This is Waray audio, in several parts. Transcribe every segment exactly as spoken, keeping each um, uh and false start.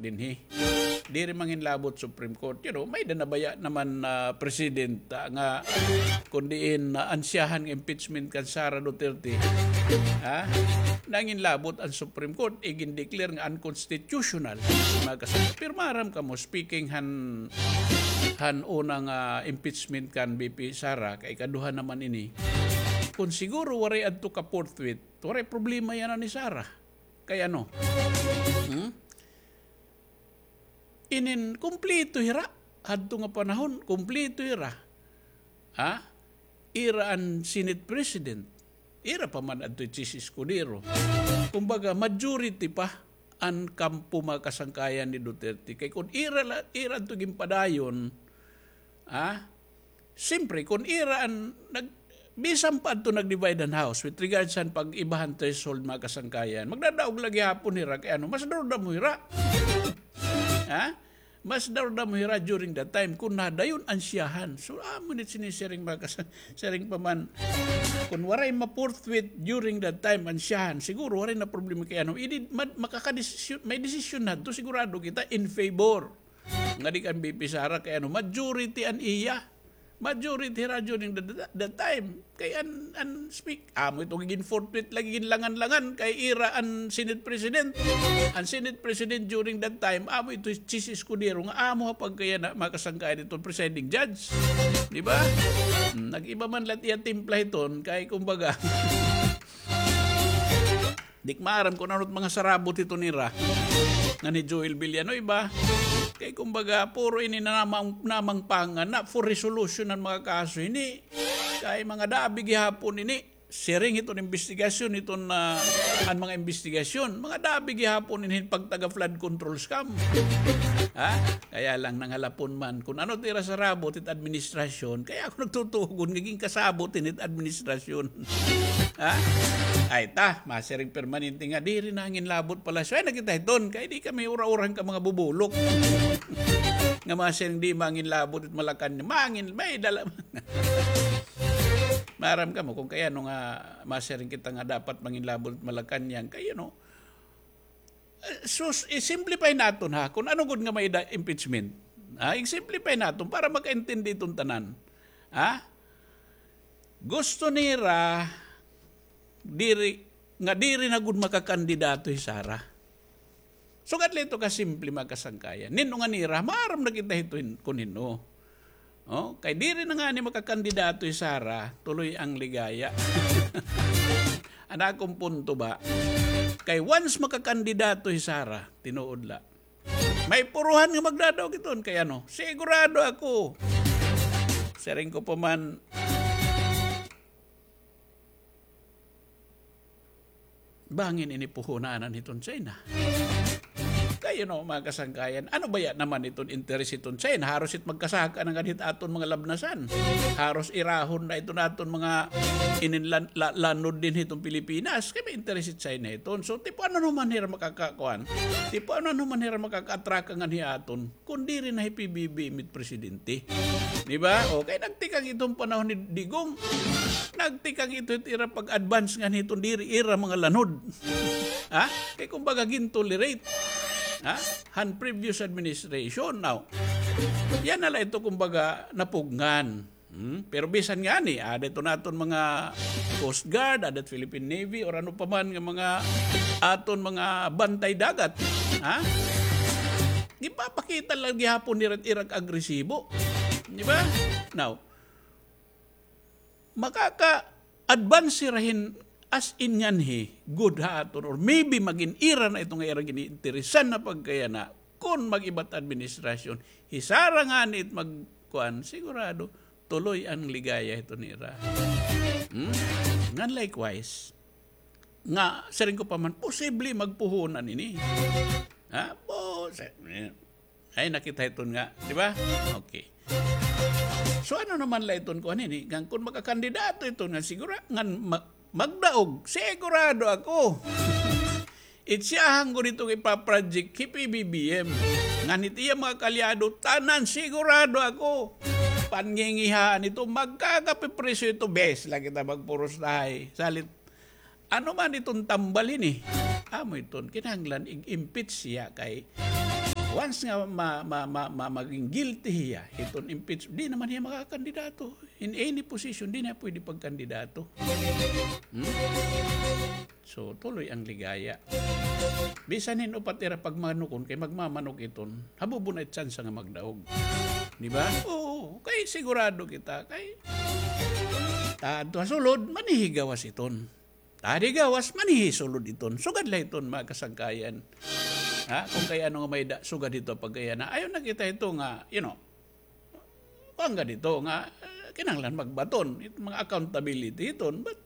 dinhi. Diri manginlabot Supreme Court. You know, may-ada na baya naman, ah, precedent, ah, nga kun diin, ah, ansyahan nga impeachment kan Sara Duterte. Ha? Nanginlabot an Supreme Court, igin-declare nga unconstitutional. Mga kasama. Pero maaram kamo, speaking han, han una nga impeachment kan V P Sara, kay ikaduha naman ini. Kun siguro waray adto ka forthwith, waray problema yana ni Sara. Kay ano? Hmm? Inin, kumpleto hira. Hadto nga panahon, kumpleto hira. Ha? Ira an Senate President. Ira pa man adto hi Chiz Escudero. Kumbaga, majority pa an kampo, mga kasangkayan, ni Duterte. Kay kun ira la, ira adto ginpadayon, ha? Siyempre, kun ira an nag-, bisan pa adto nag-divide an House with regards han pag-iba han threshold, mga kasangkayan, magdadaog la gihapon hira kay ano, mas durdamo hira. Ha? Mas durdamo hira during that time kun nadayon ansyahan. So, amo ni sinisiring, mga kasang-, siring pa man, kun waray ma-forthwith during that time ansyahan, siguro waray na problema kay ano, idi, ma-, makakadesisyon, may desisyon na to, sigurado kita in favor. Ngadi kan V P Sara kay ano, majority an iya. Majority hira during the, the, the time. Kay an, an speak, amo ito gigin forthwith lagi, ginlangan-langan kay ira an Senate President. An Senate President during that time, amo ito hi Chiz Escudero nga amo ha pagkayana, mga kasangkayan, iton presiding judge. Di ba? Hmm, nag-iba man la it iya timpla hiton, kay kumbaga, di ko maaram kun ano it mga sarabot hiton nira ngan hi Joel Villanueva. Kay kumbaga, puro ini na namang, namang pangana for resolution an mga kaso ini. Kay mga dabi gihapon ini, siring hiton imbestigasyon, hiton, ah, an mga imbestigasyon, mga dabi gihapon ini hin pagtaga flood control scam. Ha? Kaya lang nangalapon man kun ano it ira sarabot hit administrasyon, kaya ako nagtutugon nga ginkasabot ini hit administrasyon. Ha? Ay ta, masiring permanente nga diri nanginlabot Palasyo. Ay, nakita hiton, kay di kami ura-ura han mga bubulok. Nga masiring di manginlabot it Malacañang, mangin, may dala. Maaram kamo kun kay ano nga masiring kita nga dapat manginlabot it Malacañang, kay, you know, eh, sus, i-simplify naton, ha, kun ano gud nga may-ada impeachment. Ha, i-simplify naton para makaintindi iton tanan. Ha? Gusto nira diri, nga diri na gud makakandidato hi Sara. Sugad la ito kasimple, mga kasangkayan. Nin-o nga nira, maaram na kita hito hin-, kun hin-o. Oh, kay diri na ngani makakandidato hi Sara, tuloy ang ligaya. An akon punto ba? Kay once makakandidato hi Sara, tinuod la, may puruhan nga magdadaog hiton kay ano, sigurado ako. Siring ko pa man, bangin ini puhunanan hiton China. Kay, you know, mga kasangkayan, ano baya naman iton interes hiton China? Haros it magkasaka na ngani hit aton mga labnasan. Haros irahon na iton aton mga inin lan-, la-, lanod dinhi hiton Pilipinas. Kay may interes it China hiton. So, tipo ano naman hira makakakuan? Tipo ano naman hira makaka-attract ngani ha aton? Kun diri na hi P B B M it presidente. Di ba? O, kay nagtikang iton panahon ni Digong. Nagtikang ito it ira pag-advance ngani hiton diri ira mga lanod. Ha? Kay kumbaga gintolerate. Ha? Han previous administration. Now, yana la ito kumbaga napugngan. Hmm? Pero bisan ngani, ada ito naton mga Coast Guard, ada it Philippine Navy, or ano pa man nga mga aton mga bantay dagat. Ha? Gipapakita la gihapon nira it ira agresibo. Di ba? Now, makaka-advance hira hin as in nganhi, good ha aton, or maybe magin ira na ito nga ira gin-iinteresan na pagkayana, kun mag-iba it administrasyon, hi Sara ngani it magkuan, sigurado, tuloy an ligaya hito nira. Hmm? Ngan likewise, nga, siring ko pa man, posible magpuhunan ini. Ha? Po, sa-, eh, ay, nakita iton nga, di ba? Okay. So, ano naman la iton kuan ini? Ngan kun makakandidato iton nga, siguro, ngan ma-, magdaog, sigurado ako. It siyahan ko dito nga ipaproject hi P B B M. Ngan it iya mga kaalyado, tanan, sigurado ako. Panngingihaan ito, magkakapipriso ito, bes la kita magpurustahay. Salit, ano man iton tambal ini? Amo iton, kinahanglan ig-impeach siya kay Once nga ma-, ma-, ma-, ma-, maging guilty hiya hiton impeach, di naman hiya makakandidato. In any position, di na pwede pagkandidato. Hmm? So, tuloy ang ligaya. Bisan hin-o pa it ira pagmanukon, kay magmamanok iton, habubo na it tsansa nga magdaog. Di ba? Oo, kay sigurado kita, kay ta adto ha sulod, manihigawas iton. Ta di gawas, manihisulod iton. Sugad la iton, mga kasangkayan. Ha? Kung kay ano nga may da, sugad hito pagkayana. Ayaw na kita hito nga, you know, kuan nga dito nga, eh, kinahanglan magbaton. It mga accountability hiton. But,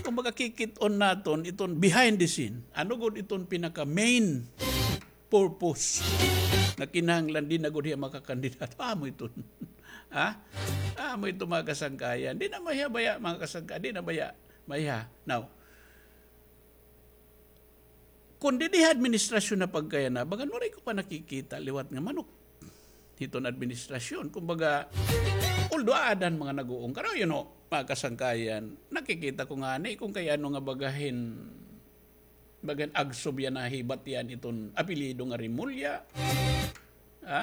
kung makakikit-on naton, iton behind the scene. Ano gud iton pinaka main purpose nga kinahanglan di na gud hiya makakandidato? Amo iton. Ha? Amo ito, mga kasangkayan. Di na mahiya baya, mga kasangkayan. Di na baya, mahiya. Now, kun didi ha administrasyon na pagkayana, bagan waray ko pa nakikita liwat nga manok hiton administrasyon. Kumbaga, although aada han mga nag-uungkar, you know, mga kasangkayan, nakikita ko ngani kung kay ano nga baga hin, bagan agsob yana hibat yana iton apelyido nga Remulla. Ha?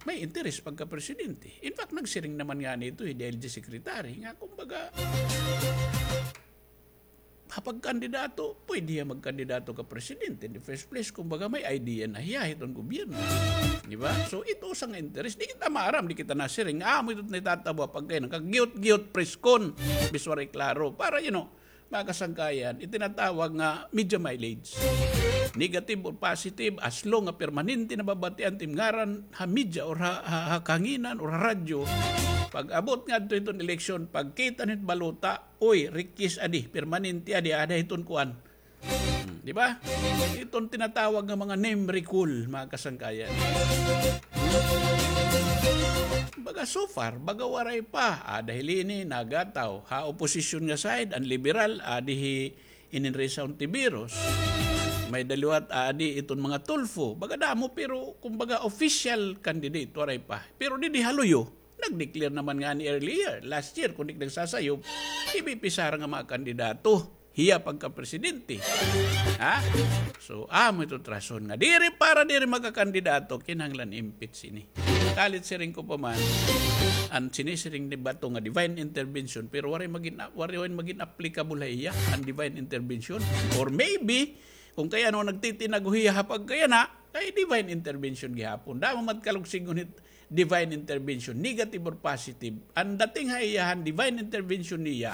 May interes pagka-presidente. In fact, nagsiring naman ngani ito hi D I L G secretary nga, kumbaga, ha pagkandidato, pwede hiya magkandidato ka presidente in the first place. Kumbaga, may idea na hiya hiton gobyerno. Di ba? So, ito usa nga interes. Di kita maaram, di kita nasiring. Amo ito it natatabo pagkayana, kag gihot-gihot press con, bisan waray klaro. Para, you know, mga kasangkayan, it tinatawag nga media mileage. Negative or positive, as long nga permanente nababatian it im ngaran ha media or ha, ha, ha kahanginan or ha radyo, pag-abot ngadto hiton eleksyon, pagkita nit balota, uy, rikis adi, permanente adi, ada hiton kuan. Hmm, di ba? Iton tinatawag nga mga name recall, mga kasangkayan. Baga so far, baga waray pa. Ada hi Leni, nagataw. Ha opposition nga side, an Liberal, adi hi Inin Risa Hontiveros. May-ada liwat, adi iton mga Tulfo. Baga damo, pero kumbaga official candidate, waray pa. Pero didi ha luyo, nag-declare naman ngani earlier, last year, kun di ak nagsasayop, hi V P Sara nga mga kandidato hiya pagka-presidente. Ha? So, amo ito it rason nga diri, para diri makakandidato, kinahanglan impeach ini. Kalit siring ko pa man, an sinisiring ni Bato nga divine intervention, pero waray magin, waray magin applicable ha iya an divine intervention. Or maybe, kung kay ano nagtitinago hiya ha pagkayana, kay divine intervention gihapon. Damo man kalugsingon hit divine intervention, negative or positive. An dating ha iya han divine intervention niya,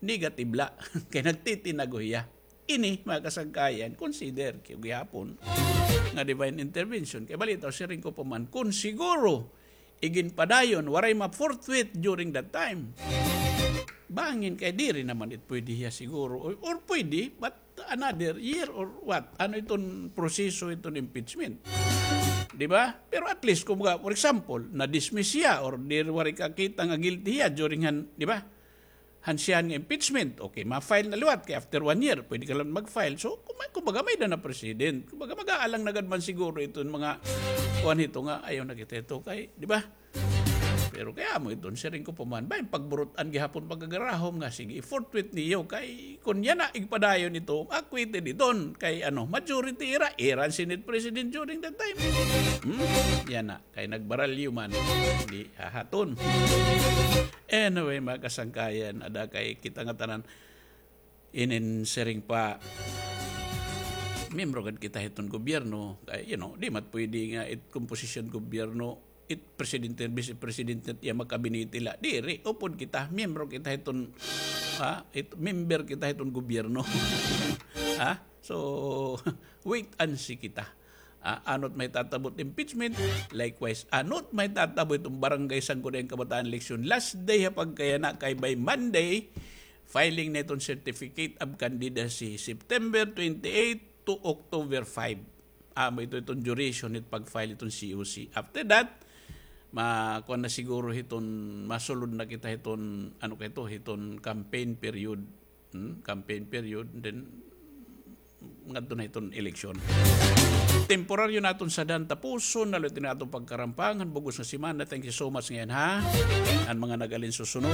negative la. Kay nagtitinago hiya. Ini, mga kasangkayan, consider kay gihapon nga divine intervention. Kay balitaw, siring ko pa man, kun siguro iginpadayon, waray ma-forthwith during that time, bangin kay diri naman it pwede hiya siguro. Or, or pwede, but another year or what? Ano iton proseso iton impeachment? Di ba? Pero at least, kumbaga, for example, na-dismiss hiya or diri, waray kakita nga guilty hiya during han, di ba? Han siyahan nga impeachment, okay, ma-file na liwat kay after one year, pwede ka lang mag-file. So, kuma-, kumbaga, may-ada na precedent. Kumbaga, mag-aalang na gad man siguro iton mga kuan hito nga, ayaw na kita hito kay, di ba? Pero kay amo iton, siring ko pa man, bangin pagburut-an gihapon pagkagarahom nga, sige, i-forthwith niyo kay kun yana igpadayon ito, acquitted iton kay ano, majority ira, ira an Senate President during that time. Hmm? Yana. Kay nagbaralyo man, di hahaton. Anyway, mga kasangkayan, ada kay kita ngatanan, inin siring pa, miyembro gad kita hiton gobyerno, kay, you know, di man pwede nga it komposisyon gobyerno, it presidente, vice presidente, it iya mga kabinete la. Diri, upod kita, miyembro kita hiton, ha, it, member kita hiton gobyerno. Ha? So, wait and see kita. Ah, ano it mahitatabo it impeachment? Likewise, ano it mahitatabo iton Barangay Sangguniang Kabataan election? Last day ha pagkayana kay by Monday, filing na iton certificate of candidacy, September twenty-eight to October five. Amo ito iton duration it pag-file iton C O C. After that, ma-, kuan na siguro hiton, masulod na kita hiton, ano kay ito, hiton campaign period. Hmm, campaign period, then ngadto na hiton eleksyon. temporaryo naton sadhan tapuson, na lutin aton pagkarampang han bug-os nga semana. Thank you so much ngayan, ha. An mga nag-alin susunod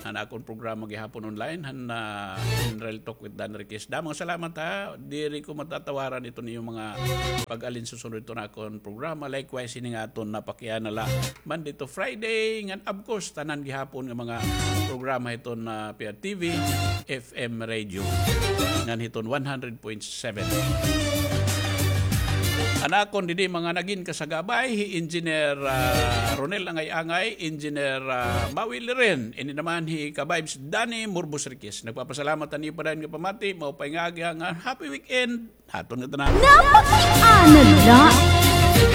han akon programa gihapon online, han, ah, In Real Talk with Dan Riquez. Damo nga salamat, ha. Diri ko matatawaran iton iyo mga pag-alin susunod iton akon programa. Likewise, ini nga aton napakiana la Monday to Friday, ngan of course, tanan gihapon nga mga programa hiton, ah, P R T V, F M radio, ngan hiton one hundred point seven. An akon didi mga nagin kasagabay, hi Engineer, ah, Ronel Angay-Angay, Engineer, ah, Maui Liren, ini naman hi ka-vibes Danny Murbos Riquez. Nagpapasalamat han iyo pa dayon nga pamati, maupay nga aga, ngan happy weekend. Haton nga tanan. Napakiana la.